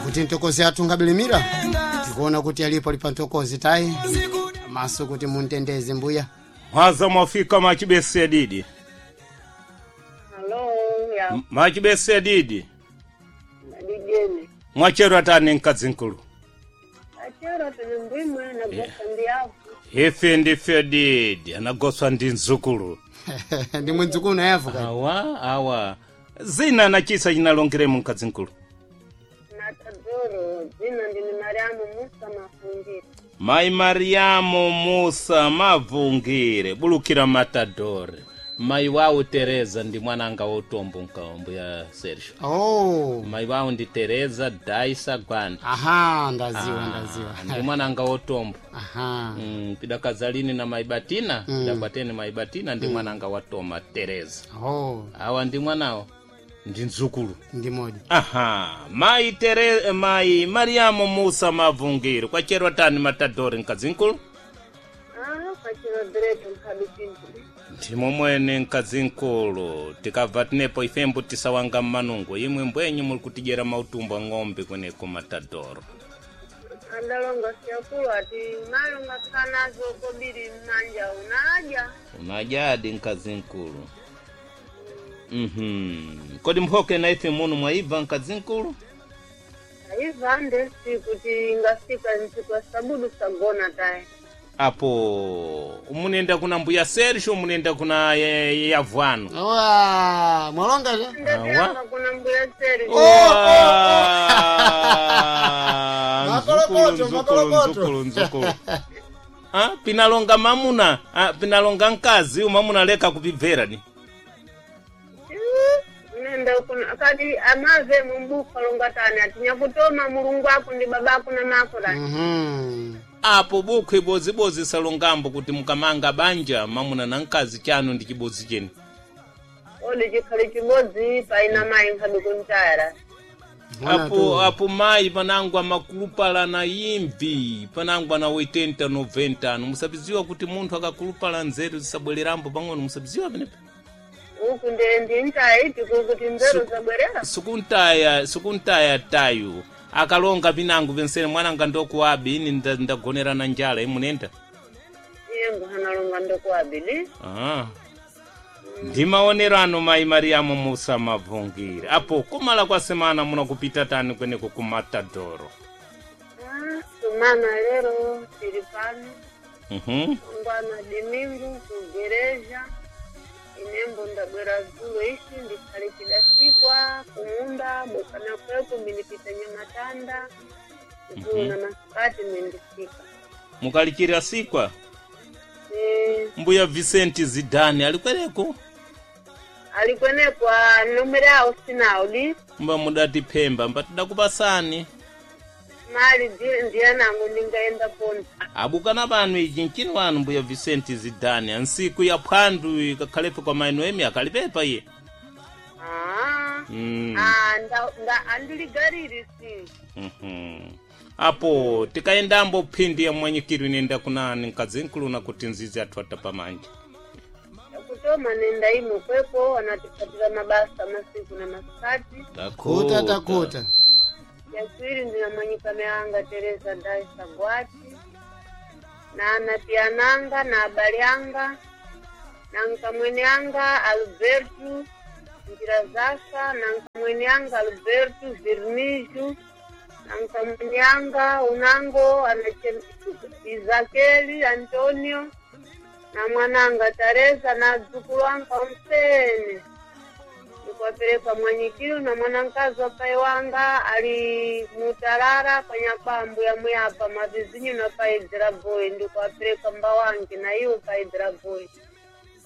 Kuti ntokozi athu ngabilimira tikuona kuti alipo ali pa ntokozi tayi maso kuti muntendeze mbuya. Mwaza mwafika machibese didi. Halo, ya Machibese didi. madijeni. Mwachero atani mkadzinkulu. Achero tili mbwimwe na gosa ndi apo. Ife ndife didi anagoswa ndi mzukulu. Ndi mwenzukulu nayevo kati. Awa awa. Zina nachisa chinalongeremo mkadzinkulu. Na tadoro dzina ndini Mariamu Musa Mafungiro. Mai Mariamu Musa Mavungire bulukira Matadore. Mai wawo Tereza ndi mwananga wotombo nkaombo ya Sergio. Oh. Mai wawo ndi Tereza Daisa Gwanda. Aha, ndaziwa ndaziwa. Ndi mwananga wotombo. Aha. Pidakazalini na maibatina pidakwateni maibatina ndi mwananga wa Toma Tereza. Oh, Awa ndi mwanawo ndi mzukulu. ndi modi. Aha, mai Tere mai Mariamu Musa Mavungire kwacherwa tani Matadore mkazinkulu. Ah, kwachero direto nkhabi chinthu. Ndimo mwene mkazinkulu tikabva tinepo ifembo tisawanga mmanungo imwe mbwenyu muli kutidyera mautumbo a ng'ombe kweneko Matadoro. Andalonga siyakulu ati malonga kanazo kobiri mmanja unaja. Unajadi mkazinkulu. Kodi mphoke na ife muno mwaibva mkazinkulu? Aiva ndesi kuti ingafika ntsiku ya sabudu sagona tayi. Apo munenda kuna mbuya Sergio munenda kuna yavwano. Owa, mwalonga je? Ndetiyanga kuna mbuya seri. Makolokoto, Nzukulu, makolokoto. nzukulu, nzukulu. Ah, pinalonga mamuna, ah, pinalonga mkazi umamuna leka kupibvera ni. Nenda kuna kati amave mumbuka longa tani ati nyakutoma mulungu ako ndi babako na mako tani. Apo bukhu ibozibozi salongambo kuti mukamanga banja mamuna na mkazi chanu ndi chibozi cheni. Odi chikhali chibodzi paina mayi nkhabi kuntayara. Apo apo mayi panangu amakulupala na imvi panangu ana 80 90 anu musabiziwa kuti munthu akakulupala nzeru zisabwererambo pang'ono musabiziwa penepa. Uku ndiye ndi ntaya iti kuti nzeru zabwerera. Sukuntaya sukuntaya tayu akalonga pinangu pensene mwananga ndokuwabi ini ndagonera na njala imunenda. Iye nguhanalonga ndokuwabili. Ah. Ndi maonero anu mayi Mariamu Musa Mavungire apo kumala kwa semana munakupita tani kweneko ku Matadoro. Ah, tumana lero tili pano. Ngwana dimingu kugereja. Inembo ndabwera zulo ishi ndikhale chidasikwa kumunda bokana kweku mbindipita nyamatanda. Zulo na masikati mbindifika. Mukalikira sikwa Eh, mbuya Vicente Zidane alikwereko alikwenekwa nomere awo sinawo di mba mudati phemba mbatidakupasani mali ndiye nangu ndingaenda ponta. abukana pano ichi nchini wanu mbuya Vicente Zidane ansiku ya phwandu ikakhalepo kwa maino emi akalipepa iye. Ah. Ah, nda andiligariri si. Apo tikayendambo phindi ya mwanyikiro inenda kunani mkazinkulu kuti nzizi athu atapamanja. Kutoma nenda imo kweko anatipatira mabasa masiku na masikati. Kuta takuta. Yakwiri ndinamanyikana yanga Teresa Daisa Gwati na anatiananga na abali anga na nkamwene anga Alberto Njira Zafa na nkamwene anga Alberto Virniju na nkamwene anga unango Izakeli Antonio na mwananga Teresa na dzukulu anga onsene ndikwapereka mwanyikiro na mwanankazi wa pai wanga ali mutalala kwanyakwambu ya muyapa mavizinyu na paidira boy ndikwapereka mbawange na iwo paidira boy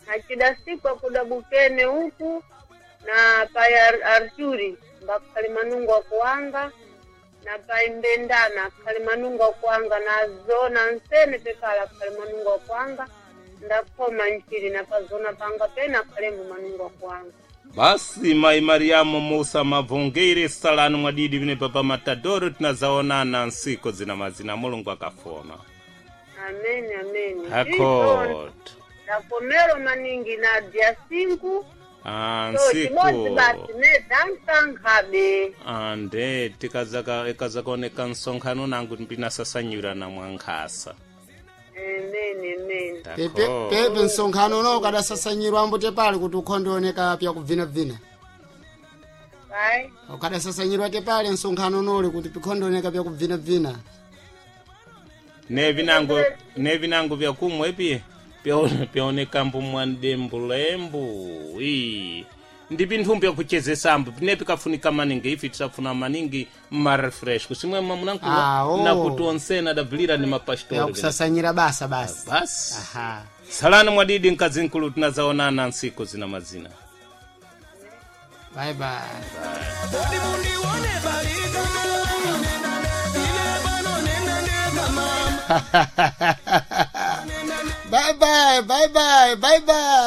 nacidasikwa kuda bukene uku na pai Arturi mbakhali manungu akuwanga na pai Mbendana akhali manungu akuwanga na zona nsene pekala akhali manungu akuwanga ndakhoma nchili na pazona panga pena akhalembo manungu akuwanga. Basi mai Mariamu Musa Mavungire salanu mwadidi vine papa Matadoro tinazaonana nsiku zina mazina Mulungu akafona. Amen, amen. Akot. Ndakomero maningi na dia 5. Ah, So chimodzi nsiku basi nedankankhabe. Ande tikazaka ikazakaoneka msonkhano nangu ndinasasanyira na mwankhasa. Amen, amen. Pepe Dako. pepe msonkhano uno ukadasasanyirwa ambute pali kuti ukhondeoneka pyakubvinabvina. Vai. Ukadasasanyirwa tepali msonkhano unoli kuti pikhondeoneka pyakubvinabvina. Nevinango nevinango vyakumwa epi pyaonekambo mwandembulembu ii ndi pinthu pyakuchezesambo pine pikafunika maningi ifi tisafuna maningi marefresh kusimwe mamunankuwa Awo. nakuti onsena adabvilira ni mapastori Pyakusasanyira basa basi. basi. Aha. Salani mwadidi mkazi nkulu, tinazaonana nsiku zina mazina. Bye bye. Bye bye, bye bye, bye bye.